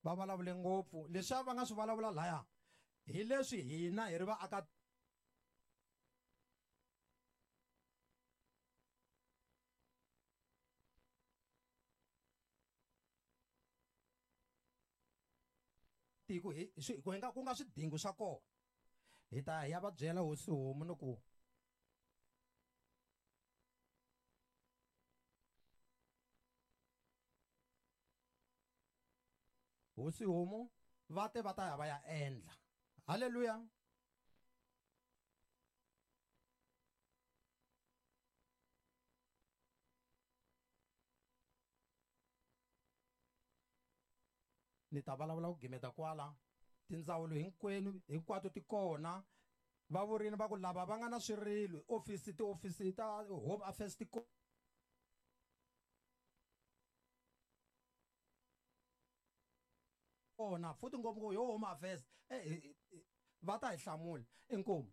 Va vulavule ngopfu leswiya va nga swi vulavula laya hi leswi hina hi ri vaaka tiko hi swi ku nga ku nga swidingo swa kona hi ta ya va byela hosi homu ni ku hosi homu va te va ta ya va ya endla halleluya. Ni ta vulavula ku gimeta kwala tindzawulo hinkwenu hinkwato ti kona va vurini va ku lava va nga na swirilo ofisi tiofisi ta home affairs ti kona futhi ngopfungopfu yo home affairs va ta hi hlamula inkomu.